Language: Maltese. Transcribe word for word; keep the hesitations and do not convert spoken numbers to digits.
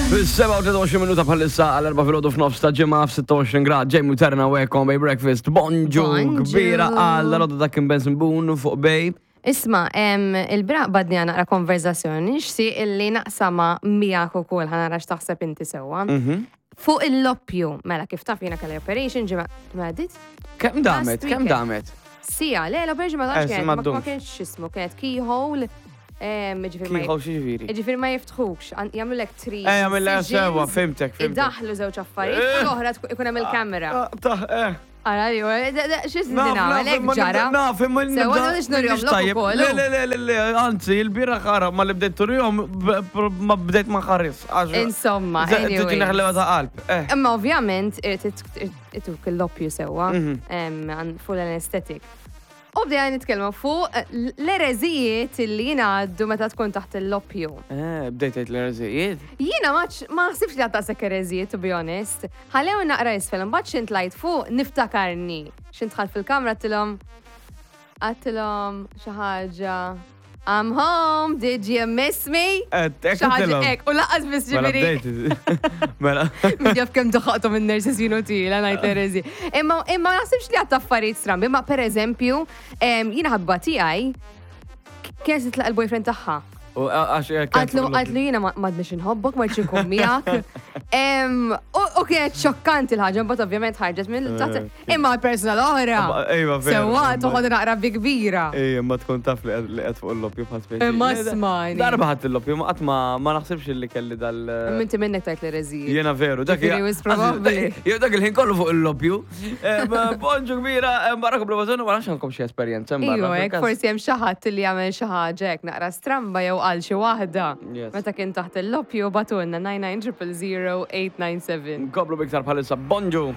Fis-sebgħa u tlieta u għoxrin minuta bħalissa għal erbgħa filgħodu f'nofs ta' ġimgħa f'sitta u għoxrin grad, Jamie Terna u Bay Breakfast. Bonġu Bonġu. Kbira għal roda ta' Kim Benson Boone fuq Bay. Isma, em, il-bieraħ bdejna naqra konverzazzjoni, nixtieq illi naqsama miegħek ukoll, ħa nara x'taħseb inti sewwa. Mhm. Fuq il-loppju, mela kif taf jiena kelli operation ġimgħa, mela dit? Kemm damet? Last Kemm weekend. damet? Sija, le, l-operation ma tantx Eh, kienet, ma ma ma ddumx. kienx x'ismu, kienet keyhole, em, ġifieri ma Keyhole x'jiġifieri? Ġifieri ma jiftħux, għan- jagħmlulek three. Eh, jagħmel incisions, sewwa, fhimtek, fhimtek. Idaħlu żewġ affarijiet, u l-oħra tkun- ikun hemm il-kamera. Ah, Ta' eh. Ara, li, x'is Naf, nagħmel, naf, hekk imma ġara. nibda- Naf, imma Sewwa, nibda- nix nurihom mhix lok tajjeb. ukoll, Le, u. le, le, le, le, anzi, il-bieraħ ħara ma li bdejt turihom, b- b- ma bdejt ma ħares. għax- Insomma, Tiġi anyways. neħleva ta' qalb. Eh. Imma ovvjament ituk il-loppju sewwa, Mhm. em, għan- full anesthetic. U bdejna nitkellmu fuq l-ereżijiet li jingħaddu meta tkun taħt il-loppju. Eh, bdejt għedt l-ereżijiet. Jiena ma ma naħsibx li għadda sekk ereżijiet, to be honest. Ħallew naqra isfel, mbagħad x'int tlajt fuq niftakarni. X'int dħalt fil-kamra għedtilhom għedtilhom xi ħaġa. "I'm home, did you miss me?" Xi ħaġa hekk, u lanqas biss Mela ġifieri. bdejt. Mela. Min jaf kemm daħaqthom in-nurses inutila ngħid ereżi. Imma imma ma naħsibx li għadt affarijiet strambi, imma per eżempju, em, jiena ħabba tiegħi kienet titlaq il-boyfriend tagħha. U għax Għedtlu għedtlu jiena ma m'għadnix inħobbok, ma rridx inkun miegħek. Em, U u kienet xokkanti l-ħaġa, mbagħad ovvjament ħarġet minn taħt. Imma l-persuna l-oħra. Ejwa, vera. Sewwa toħod naqra bi kbira. Ejja, ma tkun taf li qed- li qed fuq il-loppju bħal speċi. Imma Le, da- smajni. Darba ħadd il-loppju, ma qatt ma ma naħsibx li kelli dal. Minti minnek tajt l-ereżijiet. Jiena veru, dak Ġifieri wis probabbli. Jew dak il-ħin kollu fuq il-loppju. Eh, Bonġu kbira, eh, barakom bl-bażonu, ma nafx għandkom xi esperjenza barra. Iva, hekk forsi hemm xi ħadd li jagħmel xi ħaġa hekk naqra stramba jew qal xi waħda. Yes. Meta kien taħt il-loppju, ibagħtulna nine nine zero zero eight nine seven. Nkomplu biktar bħalissa, bonġu.